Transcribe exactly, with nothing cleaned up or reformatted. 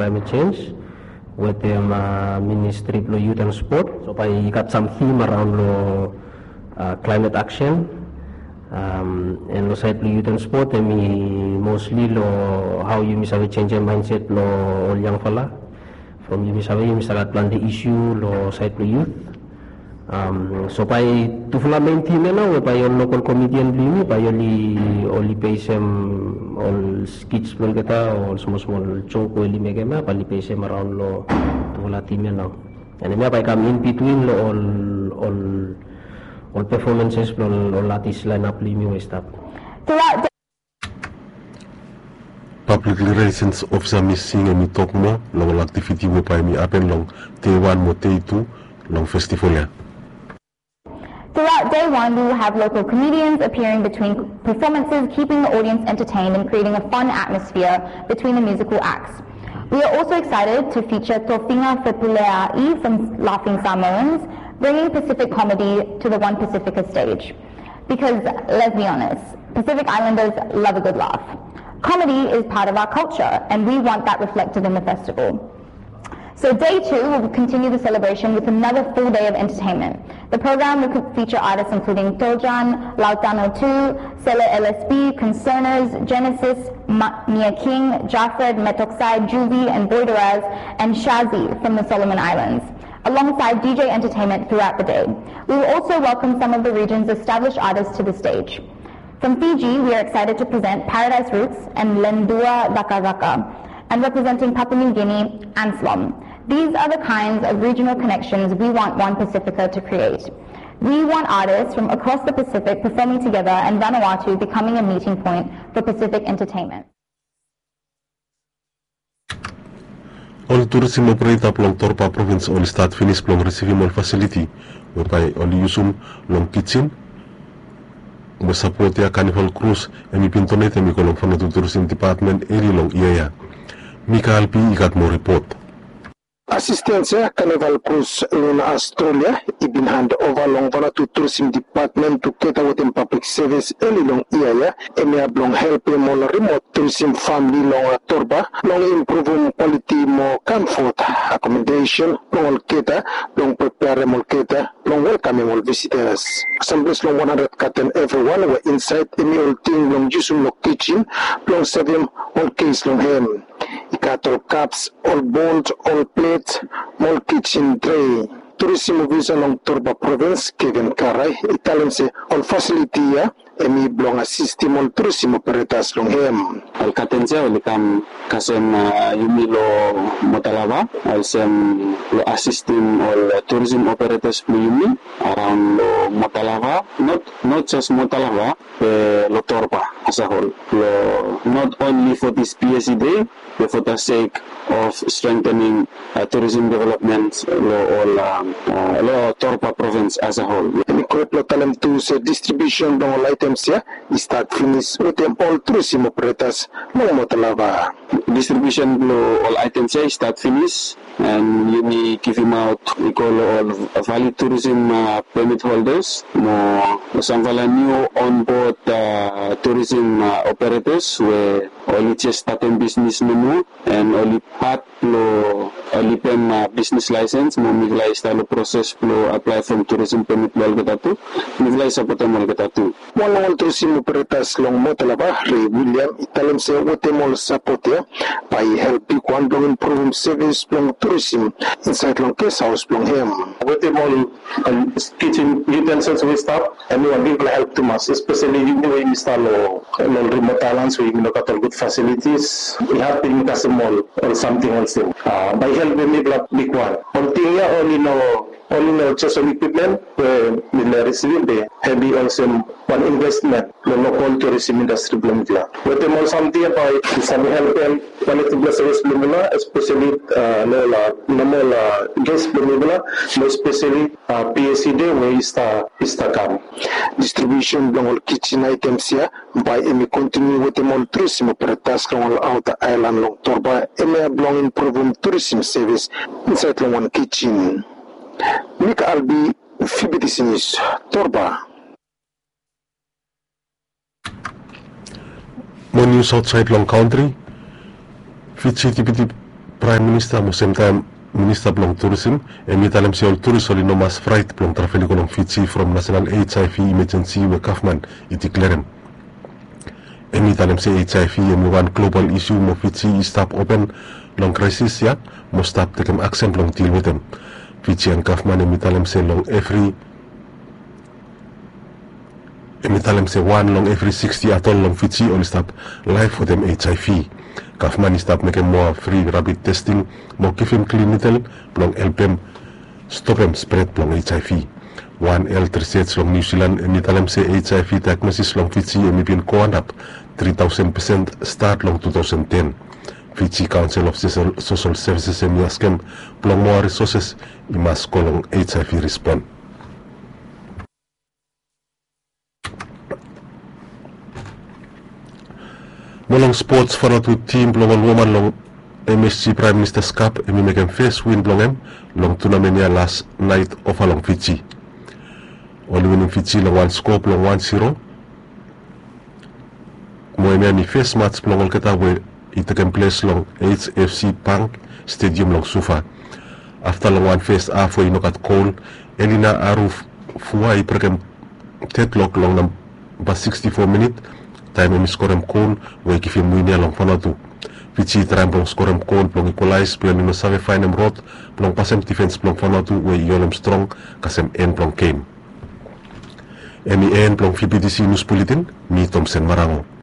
climate change wetem ministri blong youth and sport. So bae i gat sam theme around long climate action. And long sait blong youth and sport, em i mostly long hao yumi save changem mindset blong ol yangfala. From yumi save yumi save gat planti issue long sait blong youth. So bae tufala main theme ya nao we bae ol local comedian blong yumi bae oli oli basem ol skits blong olgeta, ol smol smol joke we oli mekem ya bae oli basem around long tufala theme ya nao. And hemia bae i kam in between long ol ol ol performances blong ol artist lineup blong yumi we i stap. Public Relations Officer Miss Singh hemi tok moa long ol aktiviti we bae hemi hapen long dei wan mo dei tu long festival ya. Throughout day one, we will have local comedians appearing between performances, keeping the audience entertained and creating a fun atmosphere between the musical acts. We are also excited to feature Tofinga Fepulea'i from Laughing Samoans, bringing Pacific comedy to the One Pacifica stage. Because, let's be honest, Pacific Islanders love a good laugh. Comedy is part of our culture, and we want that reflected in the festival. So day two will continue the celebration with another full day of entertainment. The program will feature artists including Tojan, Lautano two, Sele L S B, Concerners, Genesis, Ma- Mia King, Jafred, Metoksai, Juvie, and Boy Doraz, and Shazi from the Solomon Islands, alongside D J entertainment throughout the day. We will also welcome some of the region's established artists to the stage. From Fiji, we are excited to present Paradise Roots and Lendua Daka Daka, and representing Papua New Guinea, Anslom. These are the kinds of regional connections we want One Pacifica to create. We want artists from across the Pacific performing together and Vanuatu becoming a meeting point for Pacific entertainment. Ol turisim opereta blong Torba provins oli stat finis blong risivim ol fasiliti we bae oli yusum long kijin we sapot ya Carnival Cruise hemi bin donetem i go long Vanuatu Turisim Depatmen eli long yia ya. Mikael B i gat moa ripot. Asistens ya Carnival Cruise long Australia i bin hand ova long Vanuatu Turisim Depatmen tugeta wetem Pablik Sevis eli long yia ya, hemia blong helpem ol rimot turisim famili long Torba blong impruvum kwaliti mo kamfot, akomodesen blong olgeta, blong preperem olgeta blong welkamem ol visitas. Samples long wan handred katen evriwan we insaed hemi ol ting blong yusum long kijin blong sevem ol ges long hem. I gat ol kaps, ol bol, ol plet mo ol kijin trei. Turisim ofisa long Torba provins, Kevin Karai, i talem se ol fasiliti ya hemi blong asistim ol turisim operetas long hem. Ol katens ya oli kam kasem yumi long Motalava, olsem long asistim ol turisim operetas blong yumi araon long Motalava, not jes Motalava be long Torba as a whole. Long not only for this P S E day, be for the sake of strengthening tourism development long ol long Torba provins as a whole. Hemi go hed blong talem tu se distribiusen blong ol aetems ya i stat finis wetem ol turisim operetas long Motalava. Distribiusen blong ol aetems ya i stat finis, and yumi givimaot i go long ol valid tourism permit holders mo samfala niu onboard tourism operators we oli jes statem bisnis nomo, and oli pat blong oli pem bisnis laesens mo mifala i stap long proses blong aplae from tourism permit blong olgeta tu. Mifala i sapotem olgeta tu. Wan long ol turisim operetas long Motalava, Ray William, i talem se wetem ol sapot ya bae i help bigwan blong impruvum sevis blong turisim insaed long ges haos blong hem. Wetem ol kijin yutensils we i stap, hemi wan bigfala help tumas, espeseli yumi we yumi stap long ol rimot aelans we yumi no gat ol gud fasilitis. I had blong yumi kasem ol samting olsem bae i helpem mifala bigwan. Ol ting ya oli no oli no jes ol ekwipmen we mifala i risivim, be hemi olsem wan investmen long lokol turisim indastri blong mifala. Wetem ol samting ya bae i save helpem kwaliti blong sevis blong mifala, espeseli long ol nomol ges blong mifala, mo espeseli P S E day we i stap i stap kam. Distribiusen blong ol kijin aetems ya bae hemi kontiniu wetem ol turisim operetas long ol aota aelan long Torba, hemia blong impruvum turisim sevis insaed long wan kijin. Mika Albi, Fibitisi Nius, Torba. Mo nius aotsaed long kantri. Fiji Deputi Praem Minista mo semtaem Minista blong Turisim, hemi talem se ol turis oli no mas fraet blong travel i go long Fiji from nasenal H I V imajensi we gavman i diklerem. Hemi talem se H I V hemi wan global isu mo Fiji i stap open long kraesis ya mo stap tekem aksen blong dil wetem. Fijian gavman hemi talem se long evri hemi talem se wan long evri siksti adol long Fiji oli stap laef wetem H I V. Gavman i stap mekem moa fri rapid testing mo givim klin nidel blong helpem stopem spred blong H I V. Wan helt risej long Niu Silan hemi talem se H I V daegnosis long Fiji hemi bin go antap tri taosen pesen stat long tu taosen ten. Fiji Council of Social Services hemi askem blong moa risoses i mas go long H I V rispon. Mo long spots, Vanuatu tim blong ol woman long M S G Praem Minista Cup hemi mekem fes win blong hem long tunamen ya las naet ova long Fiji. Oli winim Fiji long wan skoa blong wan zero. Mo hemia hemi fes mats blong olgeta we i tekem ples long H F C Bank Stadium long Suva. Afta long wan fes haf we i no gat gol, Elina Arufua i brekem deadlock long namba siksti fo minit taem hemi skorem gol we i givim win ya long Vanuatu. Fiji i traem blong skorem gol blong equalize be oli no save faenem rod blong pasem difens blong Vanuatu we i holem strong kasem en blong gem. Hemi en blong V B T C News Bulletin, mi Tomsen Marango.